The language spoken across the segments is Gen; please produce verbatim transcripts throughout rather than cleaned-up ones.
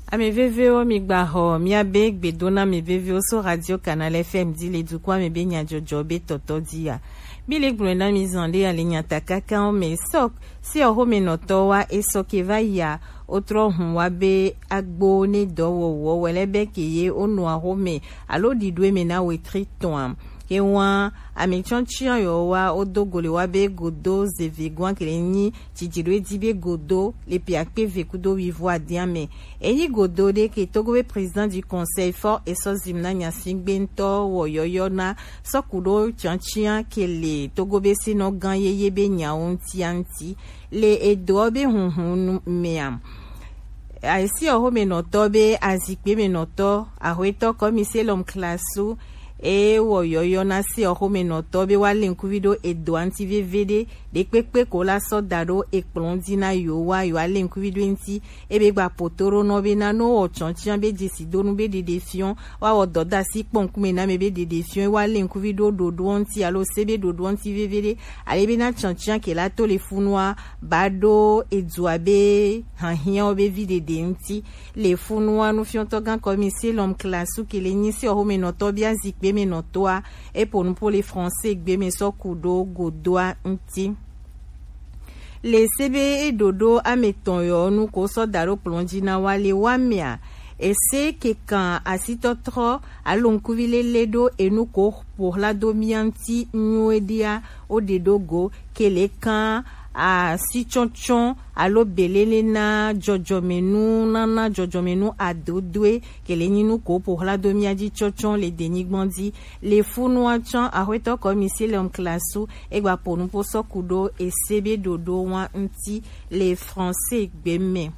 Ame vevewo, mi gba xɔ miabe gbedo na ame vevewo so Radio Canal F M di le dukɔ ame be nyadzɔdzɔ be tɔtɔ di ya. Mi le gblɔe na mi zan ɖe ale nyata kaka wo me sɔ si ɔxome nɔtɔ wa esɔ ke va ya o trɔ hun wa be agbo ne dɔ wɔwɔ wɛlɛ be ke ye o nɔ axome alo ɖiɖo eme na wetri tɔn. Ke wa ame tsɔtsian yɔ wa o do go le wa be godo zeve gwan kele nyi Jijiro edi be godo le pe akpe ve kudo wivo adiame. Eyi godo ɖe ke Togo be président du conseil fɔ esɔ zim na nyasi gbe ŋutɔ wɔ yɔyɔ na sɔku ɖo tiantian ke le Togo be sinɔ gan yeye be nyawo ŋutia ŋuti le edoɔ be hunhun nu mea. Aisi ɔxomenɔtɔ be azikpemenɔtɔ, axwetɔ kɔmise lɔm klasu, eye wɔ yɔyɔ na se ɔxomenɔtɔ be wa le ŋkuvi ɖo edoa ŋuti veve ɖe ɖekpekpe ko la sɔ da ɖo ekplɔ̃ dzi na yewo wa yewo ale ŋkuvi ɖo eŋuti. Ebe gba poto ɖo nɔ be na no wɔ tsɔtsian be dzesi donu be ɖeɖe fiɔ wa wɔ dɔdasi kpɔ ŋkume na me be ɖeɖe fiɔ wa le ŋkuvi ɖo ɖoɖoɔ ŋuti alo se be ɖoɖoɔ ŋuti veve ɖe ale be na tsɔtsian ke la to le funua ba ɖo edua be hahiawo be vi ɖeɖe ŋuti. Le funua nufiɔtɔ gan kɔmise lɔm klasu ke le nyi se ɔxomenɔtɔ bia zikpe me nɔtɔa epo nupo le français gbe me sɔ ku ɖo godoa ŋuti. Le se be eɖoɖo ame tɔn yɔ nu ko sɔ da ɖo kplɔ̃ dzi na wa le wa mea, ese ke kan asitɔtrɔ alo ŋkuvi lele ɖo enu ko ƒo hla do mia ŋuti nyuie ɖia wo ɖe ɖo go ke le kan asitsɔtsɔ alo belele na dzɔdzɔmenu nana dzɔdzɔmenu adodoe ke le nyi nu ko ƒo hla do mia dzi tsɔtsɔ le denyigban dzi. Le funua tsã axwetɔ kɔmise lɔm klasu egba po nupo sɔ ku ɖo ese be ɖoɖo wa ŋuti le français gbe me.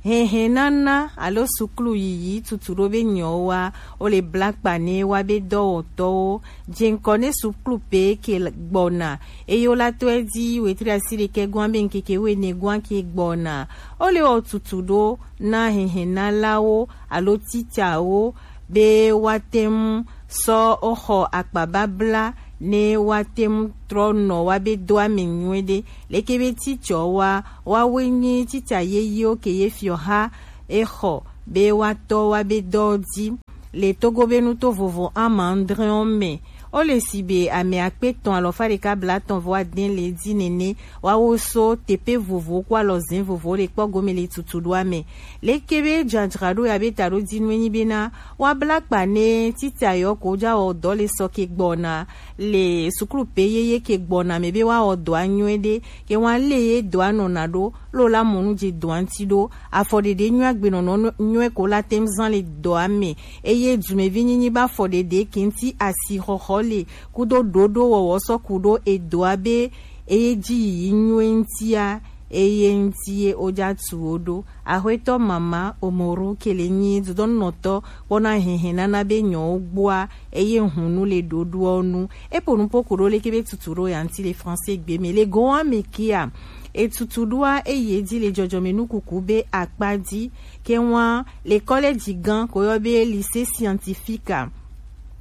Hehenana alo suklu yiyi tutu ɖo be nyɔwa wo le bla kpa ne wa be dɔwɔtɔwo. Jeŋkɔ ne suklu pe ke gbɔna eye wo la tɔe di wetri asi ɖekɛ gwan be ŋkeke wene gwan ke gbɔna. Wo le wɔ tutu ɖo na hehenalawo alo titsawo be woate ŋu sɔ woxɔ akpababla ne woate ŋu trɔ nɔ woabe doa me nyuie ɖe. Leke be titsɔ wa woawoe nye titsa yeyewo ke ye fiɔ ha exɔ be woatɔ woabe dɔ dzi le Togo be nuto vovo ama adrewo me. Wo le si be ame akpe etɔ̃ alɔfa ɖeka blatɔ̃ vɔ ade le dzi nene woawo so teƒe vovowo kple alɔzẽ vovowo le kpɔ gome le tutuɖoa me. Leke be dzadzraɖo ya be taɖodinu enyi bena woabla kpa ne titsa yɔ ko dza wɔ dɔ le sɔ ke gbɔna le suklu pe yeye ke gbɔna me be woawɔ dɔa nyuie ɖe ke woalé ye dɔa nɔna ɖo lo la mɔ nu dze dɔa ŋuti ɖo. Afɔɖeɖe nyuie agbenɔnɔ nyuie ko la te ŋu zã le dɔa me eye dumevi nyinyi be afɔɖeɖe ke ŋuti asixɔxɔ le kudo ɖoɖo wɔwɔ sɔ ku ɖo edɔa be eye dzi yiyi nyuie ŋutia eye ŋuti ye wodza tu wo ɖo. Axwetɔ mama Omoru ke le nyi dodɔnunɔtɔ kpɔna hɛhɛ nana be nyɔwo gbɔa eye hunu le ɖoɖoɔ nu. Epo nupo ku ɖo leke be tutu ɖo ya ŋuti le français gbe me le gowa me kia. Etutu ɖoa eye dzi le dzɔdzɔme nukuku be akpa dzi ke wa le kɔlɛdzi gã ko yɔ be lycée scientifique a.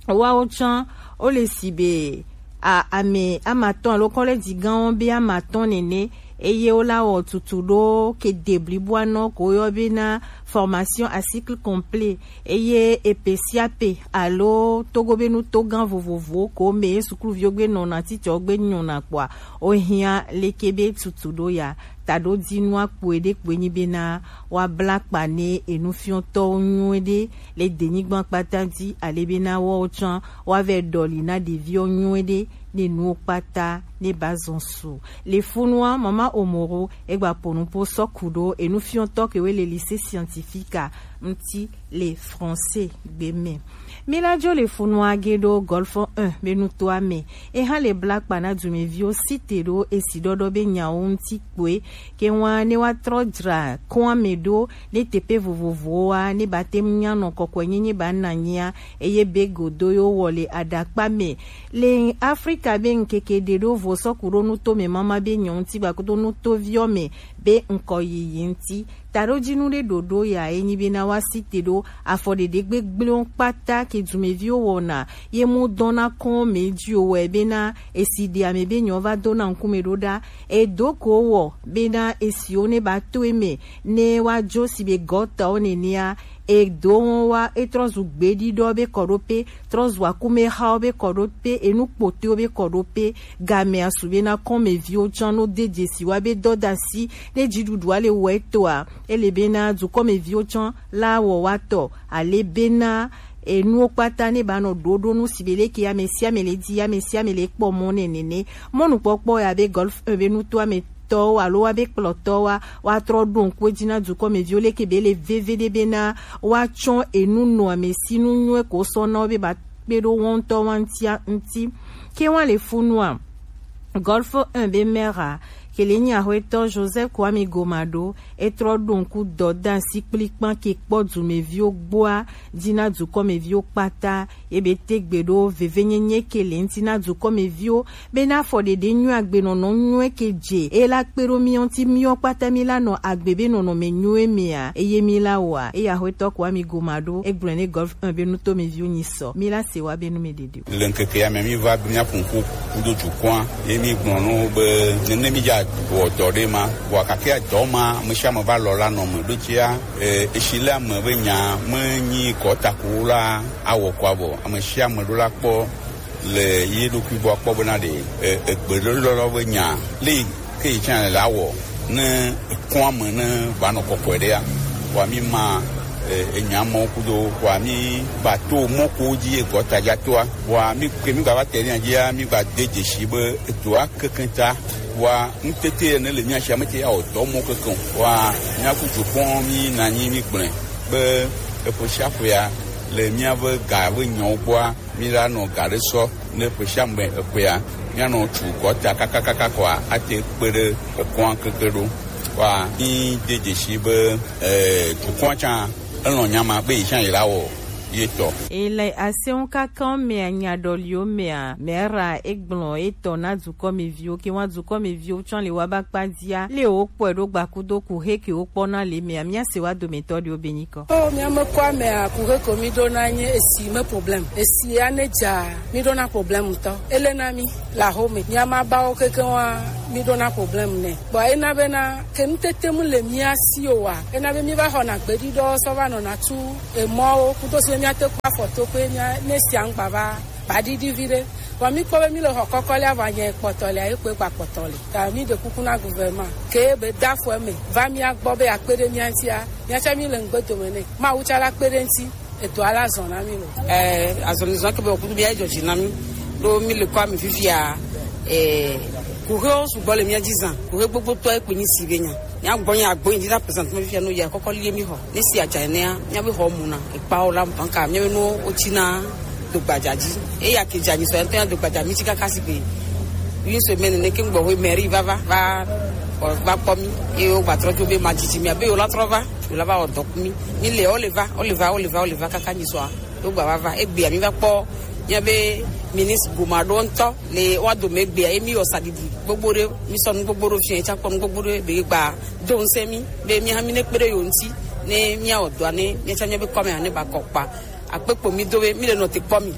Woawo tsã wo le si be a ame amatɔn alo kɔlɛdzi gãwo be amatɔn nene eye wo la wɔ tutu ɖo ke de bliboa nɔ ko yɔ be na formation à cycle complet eye epe sia pe alo togo be nuto gã vovovowo ko me ye sukluviwo gbe nɔna titsɔ gbe nyɔna kpɔa wo hiã leke be tutu ɖo ya taɖodinua kpoe ɖe kpoe nyi bena woabla kpa ne enufiɔtɔwo nyuie ɖe le denyigba kpata dzi ale bena woawo tsã woavɛ ɖɔli na ɖeviwo nyuie ɖe ne nuwo kpata ne ba zɔn su. Le funua mama Omoro egba po nupo sɔ ku ɖo enufiɔtɔ kewe le lycée scientifique a ŋuti le français gbe me. Mi la dzo le funua ge ɖo Golfe un be nutoa me. Eha le bla kpa na dumeviwo site ɖo esi ɖɔɖɔ be nyawo ŋuti kpoe ke wa ne wa trɔ dzra koa me ɖo ne teƒe vovovowoa ne ba te ŋu nya nɔ kɔkɔe nyenye ba na nyia eye be godo yo wɔ le aɖakpa me. Le Afrika be ŋkeke ɖe ɖo vo sɔ ku ɖo nuto me mama be nyɔ ŋuti gbakudo nutoviɔ me be ŋkɔ yiyi ŋuti. taɖojinu ɖe ɖoɖo ya e nyi bena woa site ɖo afɔ ɖeɖe gbegblẽwo kpata ke dumeviwo wɔna ye mu dɔn na kɔn mɛ ji o wɛ bena esi ɖe ame be nyɔ va do na ŋkume ɖo ɖa. Edo ko wɔ bena esiwo ne ba to eme ne wa jo si be gɔtawo nenea, edo wɔn wa etrɔ zu gbeɖiɖɔ be kɔɖope, trɔ zu akumexawo be kɔɖope, enu kpotoewo be kɔɖope. Game asu bena kɔnmeviwo tsã no de dzesi wa be dɔdasi ne dziɖuɖua le wɔ etoa, ele bena dukɔmeviwo tsã la wɔ wa tɔ, ale bena enuwo kpata ne ba nɔ ɖoɖo nu si be leke ame sia ame le di, ame sia ame le kpɔ mɔ ne nene. Mɔnukpɔkpɔ ya be Golf un be nutoametɔwo alo wa be kplɔtɔwoa, wa trɔ ɖo ŋku edzi na dukɔmeviwo leke be le veve ɖe bena wa tsɔ enu nɔ ame si nu nyuie ko sɔ na wo be ba kpe ɖo wɔntɔ wa ŋutia ŋuti. Ke wa le funua, Golf un be mera, ke le nyi axwetɔ Joseph Kwame Gomado, etrɔ ɖo ŋku dɔdasi kplikpan ke kpɔ dumeviwo gbɔa, dzi na dukɔmeviwo kpata, ye be tegbe ɖo vevenyenye ke le ŋuti na dukɔmeviwo, bena afɔ ɖeɖe nyuie agbenɔnɔ nyuie ke dze, eye la kpe ɖo miɔ ŋuti miɔ kpata mi la nɔ agbe be nɔnɔme nyuie mea, eye mi la wɔa, eye axwetɔ Kwame Gomado, egblɔe ne Golf un be nutomeviwo nyi sɔ, mi la se wa be nu me ɖeɖe. Le ŋkeke ya me mi va be mia ƒo ŋku kudo dukɔa, ye mi gblɔ no be ne mi dza wɔ dɔ ɖe ma, vɔ gake dɔ ma, ame sia ame va lɔ la nɔ me ɖo tsia, e, esi le ame be nya me nyi kɔ ta ko la awɔ kɔa vɔ, ame sia ame ɖo la kpɔ le ye ɖokui gbɔ akpɔ bena ɖe, e, egbe lɔlɔ be nya le ke yi tsã le awɔ ne ekɔa me ne va nɔ kɔkɔe ɖea, wa mi ma, e, enya mɔ kudo wa mi ba to mɔ ko dzi egɔta dza toa, wa mi ke mi gba va te ne dzia mi gba de dzesi be etoa keke ta, wa ŋutete ne le mia sia me te ya wɔ dɔ mɔ keke o. Wa mia ku dukɔ mi na nyi mi gblẽ be eƒe sia ƒea le mia be ga be nyawo gbɔa, mi la nɔ ga ɖe sɔ ne ƒe sia ƒe eƒea, mia nɔ tu gɔta kakakaka kɔa, ate kpe ɖe ekɔa keke ɖo. Wa mi de dzesi be, eh, dukɔa tsã elɔ̃ nya ma be yi tsã yi la wɔ ye tɔ. Ele aseŋu kaka mea nya ɖɔliwo mea, mera egblɔ etɔ na dukɔmeviwo, ke wa dukɔmeviwo tsã le wa ba kpa dzia, le wo kpɔe ɖo gbakudo ku he ke wo kpɔna le mea, mia se wa dometɔ ɖewo be nyi kɔ. O, mia me kɔ amea, ku he ko mi ɖo na nye esi me problem. Esi ya ne dza, mi ɖo na problem tɔ. Ele na mi, la home. Mia ma ba wo keke wa, mi ɖo na problem ne. Bɔ ena be na, ke nu tete mu le mia si o wa. Ena be mi va xɔ na gbeɖi ɖɔ sɔ va nɔ na tu emɔwo. Kudo si be mia te kɔ afɔ to pe mia, ne sia ŋgba va. Baɖiɖi vi ɖe. Vɔ mi kpɔ be mi le xɔ kɔkɔ lea, vɔ anya kpɔtɔ lea, ye kpe gba kpɔtɔ le. Ta mi ɖe kuku na gouvernement. Ke be da fɔ eme. Va mia gbɔ be akpe ɖe mia ŋutia. Mia tsã mi le ŋgbe dome nɛ. Mawu tsã la kpe ɖe ŋuti. Eto ala zɔ na mi lo. Eh, azɔlizɔ ke be okudu bia dzɔ dzi na mi. Ɖo mi le kɔ ami fifia. Eh, kuxewo sugbɔ le mia dzi zã. Kuxe gbogbo tɔ ekpe nyi si be nya. Mia gbɔ nya agbo yin dina present me fia no ya kɔkɔ lie mi xɔ. Ne si adza enea, mia be xɔ mu na. Ekpa o la banka, mia be no o tsi na do gbadza dzi. Eya ke dza nyi sɔ ntɔ ya do gbadza mi tsi kaka si gbe. Une semaine ne ke gbɔ we mairie va va va va kpɔ mi. Ye o gba trɔ jo be ma dzidzi mi abe yo la trɔ va, yo la va o dɔ ku mi. Mi le o le va, o le va, o le va, o le va kaka nyi sɔ. Do gba va va. Egbea mi va kpɔ mia be ministre Gomado ŋutɔ. Le wa dome egbea, ye mi wɔ saɖiɖi gbogbo ɖe, mi sɔ nu gbogbo ɖe fia, etsa kpɔ nu gbogbo ɖe, be gba do ŋusẽ mi, be mi hã mi ne kpe ɖe yo ŋuti, ne mia wɔ dɔa, ne mia tsã mia be kɔme hã ne ba kɔ kpa. Akpe kpo mi do be mi le nɔ te kpɔ mi.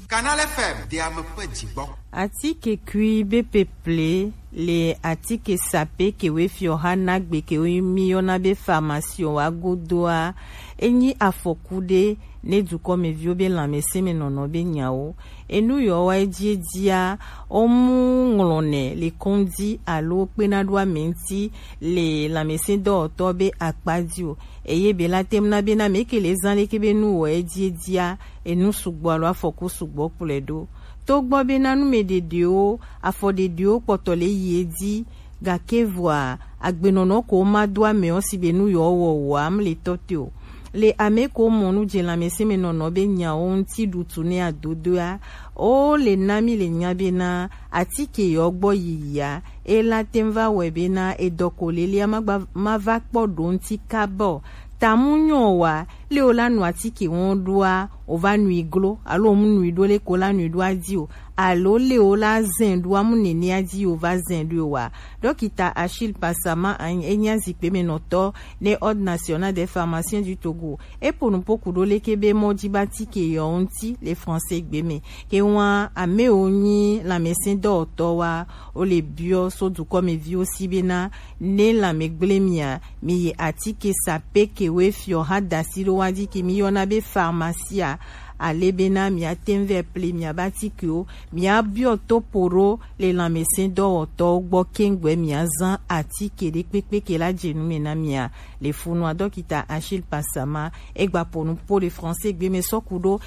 Canal F M, de ame ƒe dzigbɔ. Atike kui be peple le atike sape kewoe fiɔha nagbe kewoe mi yɔna be pharmacie wa godoa, enyi afɔku ɖe ne dukɔmeviwo be lãmesẽ me nɔnɔ be nyawo. Enu yɔ wa edzi edzia, womu ŋlɔnɛ le kɔndzi alo kpena ɖo ame ŋuti le lãmesẽdɔwɔtɔ be akpa dzi o. Eye be la tem na be na me ke le zã leke be nu wɔ edzi edzia, enu sugbɔ alo afɔku sugbɔ kplɔe ɖo. Togbɔ bena numeɖeɖewo, afɔɖeɖewo kpɔtɔ le yi edzi, gake vɔa, agbenɔnɔ ko ma do amewo si be nu yewo wɔ wòa, mle tɔ te o. Le ame ko mɔ nu dze lãmesẽmenɔnɔ be nyawo ŋuti ɖutu ne adodoa, wo le na mi le nya bena, atike yewo gbɔ yiyia, e la tem va wɔe bena, edɔ ko lelea ma gba, ma va kpɔ ɖo ŋuti kaba o. Ta mu nyɔ wa, le wo la nu atike wɔn ɖoa, o va nui glo, alo mu nui ɖo le ko la nui ɖo adi o. alo le wo la zɛn ɖo amu nɛnɛ a ji yo va zɛn ɖo wa. Dɔkita Achille Passama, enyi azikpe mɛ nɔtɔ ne Ordre National des Pharmaciens du Togo, e po nupo kudo leke be mɔ ji ba tike yɔ ŋuti le français gbe mɛ. Ke wa ame wo nyi lanmɛsɛn dɔwɔtɔ wa, wo le biɔ so dukɔmɛviwo si be na ne lanmɛ gble mia, mi yi atike sape ke we fiɔ ha dasi ɖo wa ji ke mi yɔna be pharmacie a, ale be na mia tɛn vɛ ple mia ba tike wo, mia biɔ to po ɖo le lanmɛsɛn dɔwɔtɔwo gbɔ kengbe mia zan atike ɖe kpekpe ke la jenu mɛ na mia. Le funua dɔkita Achille Passama egba po nupo le français gbe mɛ sɔ kudo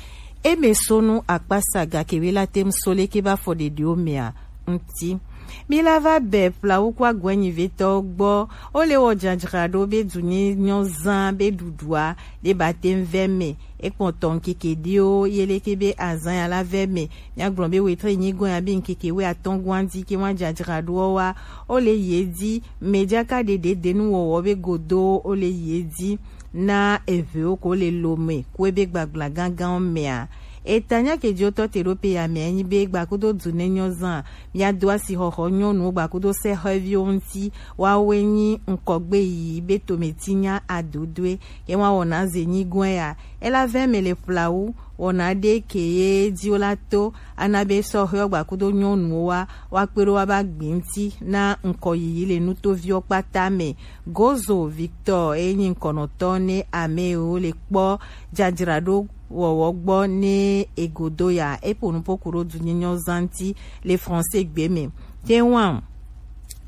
e mɛ sonu akpasaga ke we la tɛn so leke ba fɔ ɖeɖewo mɛ a ŋuti. Mi la va bɛ plawu kó agɔɛnyivetɔwo gbɔ, wo le wɔ jajraɖo be dunye nyɔ zan be ɖuɖua ɖe ba tɛn vɛ mɛ. E kpɔn tɔn keke ɖiwo ye leke be azan ya la vɛ mɛ. Mia gblɔ be wetre nyigɔn ya be ŋkeke we atɔn gɔn di ke wa jajraɖoɔ wa, wo le ye di, mɛ jaka ɖeɖe denu wɔwɔ be godo wo le ye di na eʋewo ko le lo mɛ ko ebe gbagbla gangan mɛa. Eta nya ke jo tɔ te ɖo pe ya mɛ enyi be gbakudo du ne nyɔ zan, mia do asi xɔxɔ nyɔnuwo gbakudo sɛ xɔviwo ŋuti, wa we nyi ŋkɔgbe yi be tometi nya adodoe. Ye wa wɔna ze nyigɔn ya, ela vɛ mɛ le plawu, wɔna ɖe ke ye di wo la to, ana be sɔ xɔ gbakudo nyɔnuwo wa, wa kpe ɖo wa ba gbi ŋuti na ŋkɔ yiyi le nutoviwo kpata mɛ. Gozo Victor, e nyi ŋkɔnɔtɔ ne ame wo le kpɔ jajraɖo wɔwɔ gbɔ ne egodo ya, e po nupo kudo dunye nyɔ zan ŋuti le français gbe mɛ. Te wa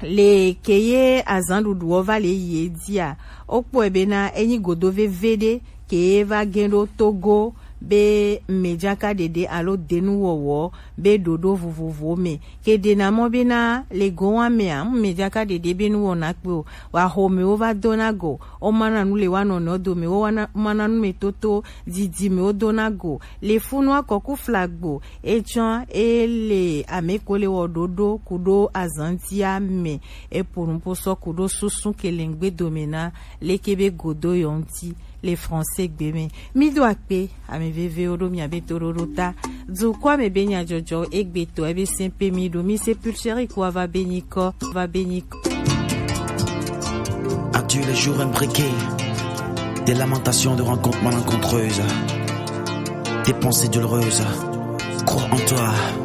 le ke ye azan ɖuɖuɔ va le yi e dia, wo kpɔe be na e nyi godo veve ɖe ke ye va gɛn ɖo Togo be mɛ jaka ɖeɖe alo denu wɔwɔ be ɖoɖo vovovowo mɛ. Ke ɖe na mɔ be na le go wa mɛa, ŋ mɛ jaka ɖeɖe be nu wɔna kpe o. Wa xo mɛ wo va do na go, wo ma na nu le wa nɔnɔ do mɛ, wo wa na, ma na nu mɛ toto didi mɛ wo do na go. Le funua kɔku flagbo, e tsɔn e le ame ko le wɔ ɖoɖo kudo azantia mɛ, e po nupo sɔ kudo susu ke le ŋgbe do mɛ na leke be godo yɔ ŋuti le français gbe mɛ. Mi do akpe, ame vevewo ɖo mia be toɖoɖo ta. Dukɔa mɛ be nyajɔjɔ egbe tɔ ebe sɛn pe mi ɖo mi se pulchérie ko ava be nyi kɔ, ava be nyi kɔ. Adieu les jours imbriqués, des lamentations de rencontres malencontreuses, des pensées douloureuses. Crois en toi.